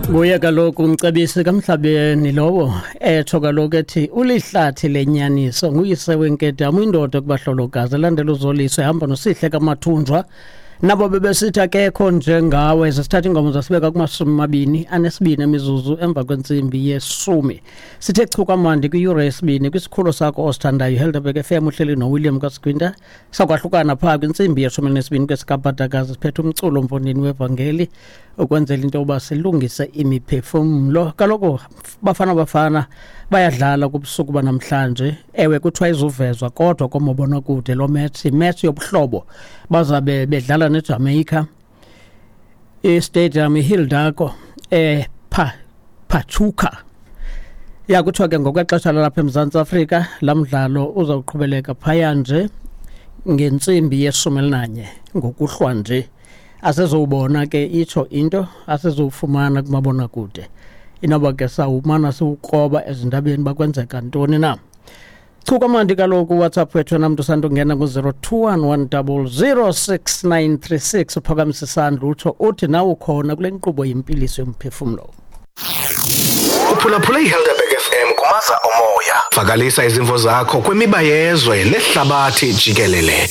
Nguye kaloku umcebisi kamhlabeni lowo etsho kaloku ethi ulihlathi lenyaniso, nguyise wenkedama, indoda kubahlolokazi, elandela uZoliso, ehamba noSihle kaMathunjwa. Nabo bebesithi akekho njengawe. Sesithatha ingoma zasibeka kuma-22 emizuzu emva kwentsimbi yeshumi. Sithe chu kamandi kwiyure yesibini kwisikhululo sakho osithandayo, Helderberg FM. Uhleli noWilliam Kasgwinta. Sakwahlukana phaa kwintsimbi ye-12 kwesikabhadakazi, siphethe umculo mfondini wevangeli ukwenzela into yokuba silungise imiphefumlo. Kaloku Bafana Bafana bayadlala kubusuku banamhlanje. Ewe, kuthiwa izuvezwa kodwa komabonakude lo match, imatch yobuhlobo, bazabe bedlala neJamaica, istadium iHidalgo Pachuca. Ya, kuthiwa ke ngokwexesha lalapha eMzantsi Afrika laa mdlalo uzawuqhubeleka phaya nje ngentsimbi ye-11 ngokuhlwa nje. Asizowubona ke, itsho into asizowufumana kumabonakude. Inoba ke sawumana siwukroba ezindabeni bakwenzeka ntoni na. Chu kamandi kaloku WhatsApp wethu namntu sandungena ku-021 100 6936, uphakamisa isandla utsho uthi nawe ukhona kule nkqubo yimpiliso yomphefumlo. Uphulaphule iHelderberg FM kumaza omoya. Vakalisa izimvo zakho kwimiba yezwe nehlabathi jikelele.